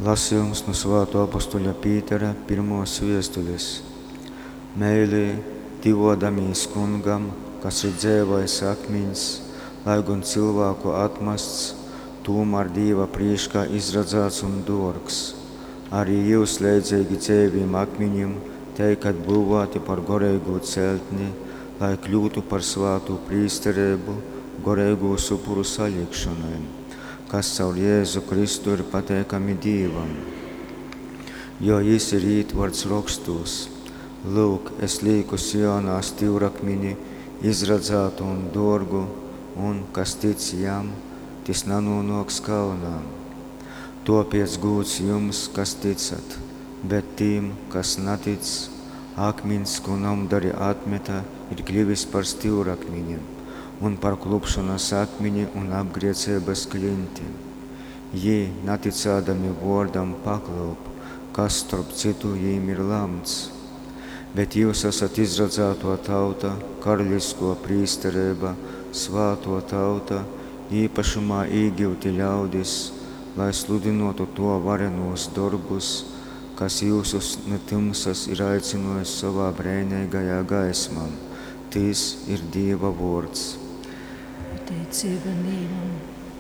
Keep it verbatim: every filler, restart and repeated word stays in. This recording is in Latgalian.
Lasījums nu Svātō apostuļa Pītera pirmōs viestules. Meilī, tyvōdamīs Kungam, kas ir dzeivais akmiņs, lai gon cylvāku atmasts, tūmār Dīva prīškā izradzāts un dōrgs, arī jyus leidzeigi dzeivim akmiņim teikat byuvāti par goreigu celtni, lai kļyutu par svātu prīstereibu goreigūs upuru salikšonai, kas caur Jēzu Kristu ir pateikami Dīvam. Jo jys ir ītvarts Rokstūs: Lyuk, es līku Sionā styurakmini, izradzātu un dōrgu, un, kas tic jam, tys nanūnōks kaunā. Tōpēc gūds jums, kas ticat, bet tim, kas natic, akmiņs, kū nomdari atmeta, ir kļyvis par styurakmini un par klupšonas akmini un apgrieceibas klinti. Jī, natycādami vōrdam, paklyup, kas, storp cytu, jīm ir lamts. Bet jyus asat izradzātō tauta, karaliskō prīstereiba, svātō tauta, īpašumā īgyuti ļaudis, lai sludynōtu Tō varenūs dorbus, kas jyusus nu tymsas ir aicynōjis sovā breineigajā gaismā. Tys ir Dīva vōrds. Pateiceiba Dīvam.